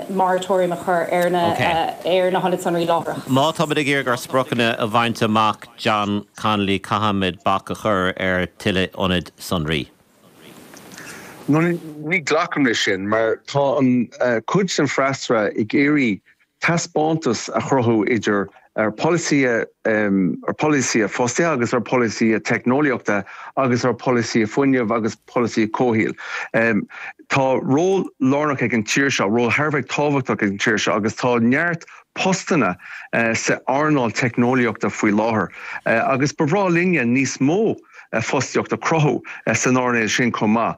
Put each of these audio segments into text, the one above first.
Moratorium a chur ar na ar na hionaid sonraí láithreach. Má táimid ag iarraidh ár spriocanna a bhaint amach, John Connolly, caithfimid bac a chur ar tuilleadh ionad sonraí. Ní ghlacaim leis sin mar tá an cuid den freasúra ag iarraidh taispeántas a chruthú idir ar polasaithe ar polasaithe fostaithe agus ar polasaithe teicneolaíochta agus ar polasaithe fuinnimh agus polasaithe comhshaoil. Tá ról lárnach ag an tír seo, ról thar a bheith tábhachtach ag an tír seo agus tá neart postanna sa earnáil teicneolaíochta faoi láthair agus ba bhreá linne níos mó fostaíocht a chruthú san earnáil sin chomh maith.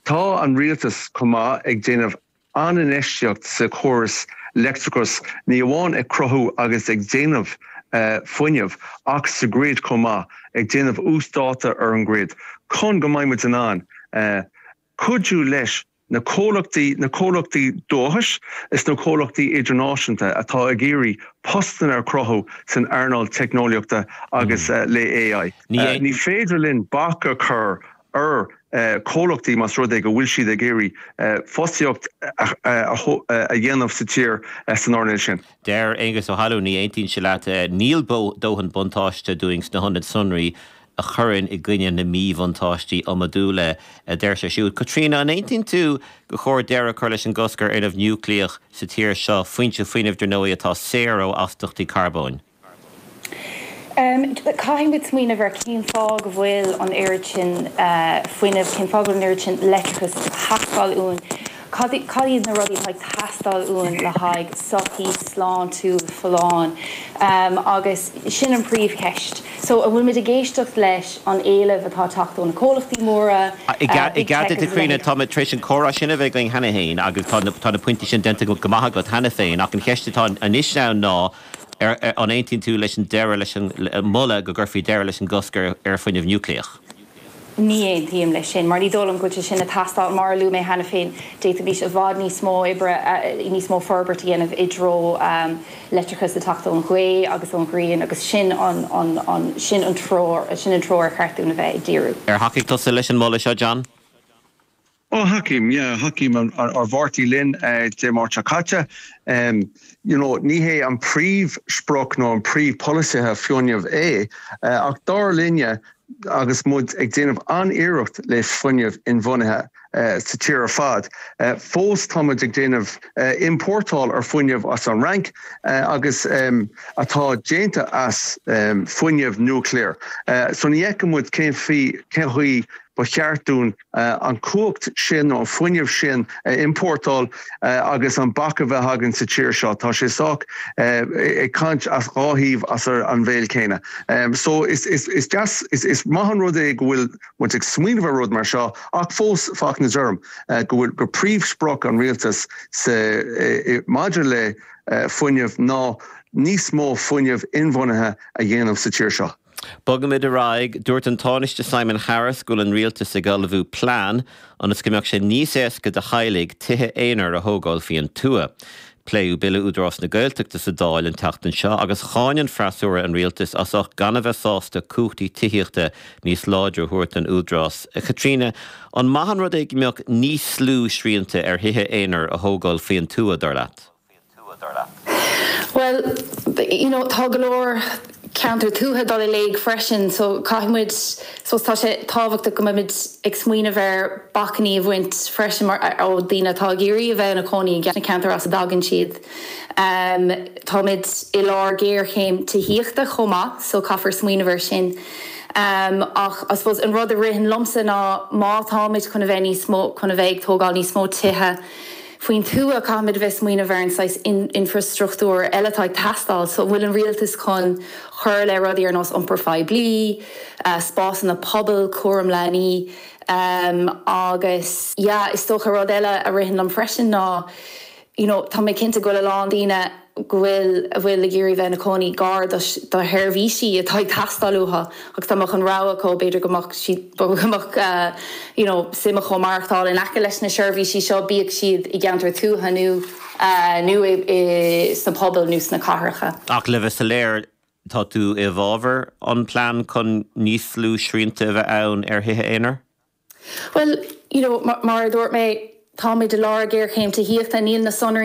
Tá an rialtas chomh maith ag déanamh an-infheistíocht sa chóras leictreachais, ní amháin ag cruthú agus ag déanamh fuinnimh ach sa grid chomh maith, ag déanamh uasdáta ar an grid chun go mbeidh muid in ann cuidiú leis na comhlachtaí, na comhlachtaí dúchais is na comhlachtaí idirnáisiúnta atá ag iarraidh postanna a chruthú san earnáil teicneolaíochta agus le AI. Ní féidir linn bac a chur ar chomhlachtaí más rud é go bhfuil siad ag iarraidh fostaíocht a dhéanamh sa tír san earnáil sin. Deir Aengus Ó hAlmhain, ní aontaíonn sé leat, níl dóthain buntáiste dúinn sna hionaid sonraí a chuireann i gcoinne na míbhuntáistí iomadúla, a deir sé siúd. Caitríona, an aontaíonn tú gur chóir deireadh a chur leis an gcosc ar fhuinneamh núicléach sa tír seo, foinse fuinnimh, dar ndóigh, atá saor ó astaíochtaí carbóin? Caithfidh muid smaoineamh ar cén fáth go bhfuil an oiread sin fuinnimh, cén fáth go bhfuil an oiread sin leictreachais ag teastáil uainn, cad iad na rudaí atá ag teastáil uainn le haghaidh sochaí sláintiúil folláin agus sin an príomhcheist. So an bhfuil muid ag éisteacht leis an éileamh atá ag teacht ó na comhlachtaí móra, I Big gcead Tech duit a agus a Chaitríona, leithéid? tá muid tar éis an comhrá sin a bheith againn cheana féin agus tá na pointí sin déanta go maith agat cheana féin ach an cheist atá anois ann ná An aontaíonn tú leis an deireadh leis an moladh go gcuirfí deireadh leis an gcosc ar fuinneamh núicléach? Ní aontaím leis sin, mar ní dóigh liom go bhfuil sé sin ag teastáil. Mar a luaigh mé cheana féin, d'fhéadfaimis i bhfad níos mó oibre, níos mó forbairt a dhéanamh i dtreo leictreachas ag teacht ón ghaoth agus ón ghrian agus sin an sin an treo sin an treo ar cheart dúinn a bheith ag díriú. Ar thacaigh tusa leis an moladh seo, John? Ó, thacaím, yeah, thacaím ár bpáirtí linn Dé Máirt seo caite. You know, ní hé an príomhsprioc nó an príomhpholasaithe fuinnimh é, ach dar linne agus muid ag déanamh an-iarracht le fuinneamh inbhuanaithe sa tír ar fad, fós tá muid ag déanamh iompórtáil ar fuinneamh as an Fhrainc agus atá déanta as fuinneamh núicléar. So ní fheiceann muid cén chaoi ba cheart dúinn an chumhacht sin nó an fuinneamh sin a iompórtáil agus an bac a bheith againn sa tír seo. Tá sé sách ag caint as dhá thaobh as an bhéal céanna. So is deas, is maith an rud é go bhfuil muid ag smaoineamh ar rud mar seo ach fós fanaimid orm go bhfuil gur príomhsprioc an rialtais sa maidir le fuinneamh ná níos mó fuinneamh inbhuanaithe a dhéanamh sa tír seo. Bogaimid ar aghaidh. Dúirt an Tánaiste Simon Harris go bhfuil an rialtas ag ullmhú plean ionas go mbeadh sé níos éasca do theaghlaigh tithe aonair a thógáil faoin tuath. Pléadh Bille Údarás na Gaeltachta sa Dáil an tseachtain seo agus cháin an freasúra an rialtas as ucht gan a bheith sásta cumhachtaí tithíochta níos láidre a thabhairt don Údarás. A Chaitríona, an maith an rud é go mbeadh níos lú srianta ar thithe aonair a thógáil faoin tuath, dar leat? Bhuel, you know, tá go leor ceantar tuaithe ag dul i léig freisin so caithfidh muid, suppose tá sé tábhachtach go mbeimid ag smaoineamh ar bacainní a bhaint freisin mar, ó daoine atá ag iarraidh a bheith ina cónaí i sna ceantair as a dtagann siad. Táimid i lár géarchéim tithíochta chomh maith so caithfear smaoineamh ar sin. Ach I suppose an rud a ritheann liomsa ná má táimid chun a bheith níos mó, chun a bheith ag tógáil níos mó tithe, Faoin tuath, caithfimid a bheith ag smaoineamh ar an saghas infreastruchtúr eile atá ag teastáil. So, an bhfuil an rialtas chun cur le rudaí ar nós iompar phoiblí, spásanna pobail, cúram leanaí agus yeah, is dócha rud eile a ritheann liom freisin ná you know, tá mé cinnte go bhfuil a lán daoine go bhfuil, a bhfuil ag iarraidh bheith ina cónaí gar do sheirbhísí atá ag teastáil uathu agus dá mbeadh an rogha acu b'fhéidir go mbeadh siad, go mbeadh you know suim acu maireachtáil in aice leis na seirbhísí seo, bíodh siad i gceantar tuaithe nó nó i sna pobail nó sna cathracha. Ach le bheith soiléir, tá tú i bhfabhar an plean chun níos lú srianta a bheith ann ar thithe aonair? Bhuel, you know, mar a dúirt mé. Táimid i lár géarchéim tithíochta, níl na sonraí.